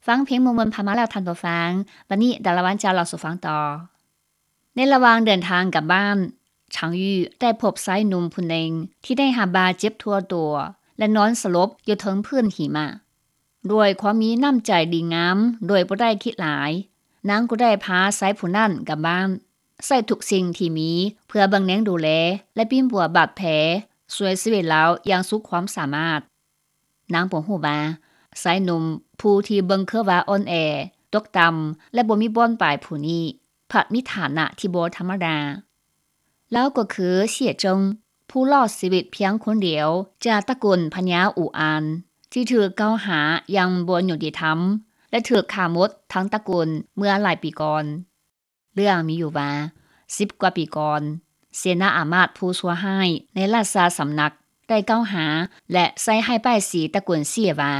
ຟັງເພງມ່ວນໆຜ່ານມາແລ້ວທ່ານຜູ້ຟັງ, ບັດນີ້ດາລາວັນຈະເລົ່າສູ່ຟັງຕໍ່. ໃນລະຫວ່າງເດີນທາງກັບບ້ານ, ຊາງຢູ່ໄດ້ພົບຊາຍໜຸ່ມຜູ້ໜຶ່ງທີ່ໄດ້ຮັບບາດເຈັບທົ່ວຕົວ ແລະ ນອນສະຫຼົບຢູ່ເທິງພື້ນຫິມະ. ດ້ວຍຄວາມມີນ້ຳໃຈດີງາມໂດຍບໍ່ໄດ້ຄິດຫຼາຍ, ນາງກໍໄດ້ພາຊາຍຜູ້ນັ້ນກັບບ້ານ, ໃຊ້ທຸກສິ່ງທີ່ມີເພື່ອເບິ່ງແຍງດູແລ ແລະ ປິ່ນປົວບາດແຜ, ຊ່ວຍຊີວິດລາວຢ່າງສຸດຄວາມສາມາດ. ນາງບໍ່ຮູ້ວ່າ ຊາຍໜຸ່ມຜູ້ທີ່ເບິ່ງຄືວ່າອ່ອນແອ, ຕົກຕ່ຳ ແລະ ບໍ່ມີບ່ອນໄປຜູ້ນີ້ ພັດມີຖານະທີ່ບໍ່ທຳມະດາ. ລາວກໍຄືເຊຍເຈິງ, ຜູ້ລອດຊີວິດພຽງຄົນດຽວຈາກຕະກຸນພະຍາອູອານ ທີ່ຖືກກ່າວຫາຢ່າງບໍ່ຍຸຕິທຳ ແລະ ຖືກຂ້າໝົດທັງຕະກຸນເມື່ອຫຼາຍປີກ່ອນ. ເລື່ອງມີຢູ່ວ່າ ສິບກວ່າປີກ່ອນ, ເສນາອາມາດຜູ້ຊົ່ວຮ້າຍໃນລາຊາສຳນັກໄດ້ກ່າວຫາ ແລະ ໃສ່ຮ້າຍປ້າຍສີຕະກຸນເຊຍວ່າ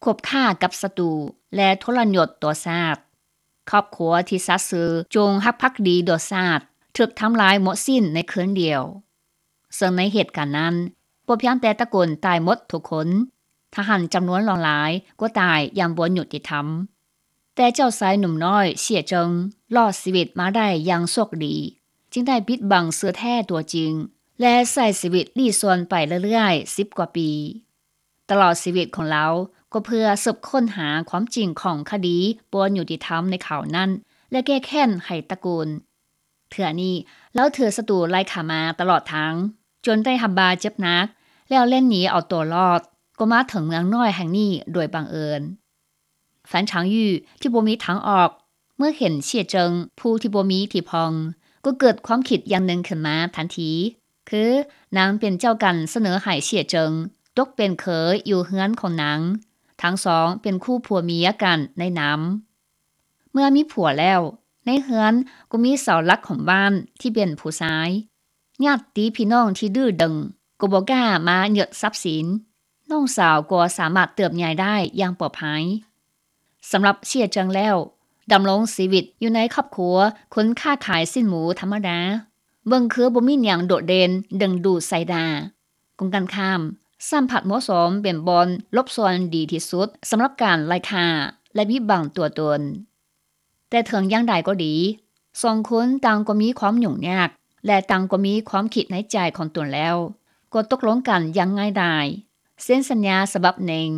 ຄົບຄ້າກັບສັດຕູ ແລະ ທໍລະຍົດຕໍ່ຊາດ. ຄອບຄົວທີ່ສັດຊື່ຈົ່ງຮັກພັກດີຕໍ່ຊາດ ຖືກທຳລາຍໝົດສິ້ນໃນຄືນດຽວ. ເຊິ່ງໃນເຫດການນັ້ນ, ບໍ່ພຽງແຕ່ຕະກຸນຕາຍໝົດທຸກຄົນ, ທະຫານຈຳນວນຫຼວງຫຼາຍກໍຕາຍຢ່າງບໍ່ຍຸຕິທຳ. ແຕ່ເຈົ້າຊາຍໜຸ່ມນ້ອຍເຊຍເຈິງ ລອດຊີວິດມາໄດ້ຢ່າງໂຊກດີ, ຈຶ່ງໄດ້ປິດບັງຊື່ແທ້ຕົວຈິງ ແລະ ໃຊ້ຊີວິດລີ້ຊ່ອນໄປເລື້ອຍໆ ສິບກວ່າປີ. ຕະຫຼອດຊີວິດຂອງລາວກໍເພື່ອສືບຄົ້ນຫາຄວາມຈິງຂອງຄະດີບໍ່ຍຸຕິທຳໃນຄາວນັ້ນ ແລະ ແກ້ແຄ້ນໃຫ້ຕະກຸນ. ເທື່ອນີ້ລາວຖືກສັດຕູໄລ່ຂ້າມາຕະຫຼອດທາງ, ຈົນໄດ້ຮັບບາດເຈັບໜັກ ແລ້ວແລ່ນໜີເອົາຕົວລອດ, ກໍມາເຖິງເມືອງນ້ອຍແຫ່ງນີ້ໂດຍບັງເອີນ. ຟານຊາງຢູ່ທີ່ບໍ່ມີທາງອອກ ເມື່ອເຫັນເຊຍເຈິງຜູ້ທີ່ບໍ່ມີທີ່ພັກ ກໍເກີດຄວາມຄິດຢ່າງໜຶ່ງຂຶ້ນມາທັນທີ, ຄືນາງເປັນເຈົ້າກັນສະເໜີໃຫ້ເຊຍເຈິງຕົກເປັນເຂີຍຢູ່ເຮືອນຂອງນາງ, ທັງສອງເປັນຄູ່ຜົວເມຍກັນໃນນາມ. ເມື່ອມີຜົວແລ້ວ, ໃນເຮືອນກໍມີເສົາຫຼັກຂອງບ້ານທີ່ເປັນຜູ້ຊາຍ. ຍາດຕິພີ່ນ້ອງທີ່ດື້ດຶງກໍບໍ່ກ້າມາຍຶດຊັບສິນ. ນ້ອງສາວກໍສາມາດເຕີບໃຫຍ່ໄດ້ຢ່າງປອດໄພ. ສຳລັບເຊຍເຈິງແລ້ວ, ດຳລົງຊີວິດຢູ່ໃນຄອບຄົວຄົນຄ້າຂາຍຊີ້ນໝູທຳມະດາ, ເບິ່ງຄືບໍ່ມີຫຍັງໂດດເດັ່ນດຶງດູດສາຍຕາ. ກົງກັນຂ້າມ, ຊ້ຳພັດເໝາະສົມເປັນບ່ອນຫຼົບຊ່ອນດີທີ່ສຸດສຳລັບການໄລ່ຂ້າ ແລະ ບິດບັງຕົວຕົນ. ແຕ່ເຖິງຢ່າງໃດກໍດີ, ສອງຄົນຕ່າງກໍມີຄວາມຫຍຸ້ງຍາກ ແລະ ຕ່າງກໍມີຄວາມຄິດໃນໃຈຂອງຕົນແລ້ວ, ກໍຕົກລົງກັນຢ່າງງ່າຍດາຍ, ເຊັນສັນຍາສະບັບໜຶ່ງ,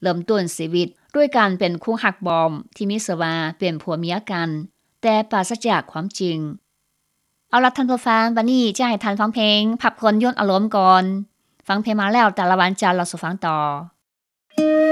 ເລີ່ມຕົ້ນຊີວິດດ້ວຍການເປັນຄູ່ຮັກປອມທີ່ມີຊື່ວ່າເປັນຜົວເມຍກັນ, ແຕ່ປາສະຈາກຄວາມຈິງ. ເອົາລະທ່ານຜູ້ຟັງ, ບັດນີ້ຈະໃຫ້ທ່ານຟັງເພງພັກຜ່ອນຢ່ອນອາລົມກ່ອນ. ຟັງເພງມາແລ້ວ, ຕາລະວັນຈະເລົ່າສູ່ຟັງຕໍ່.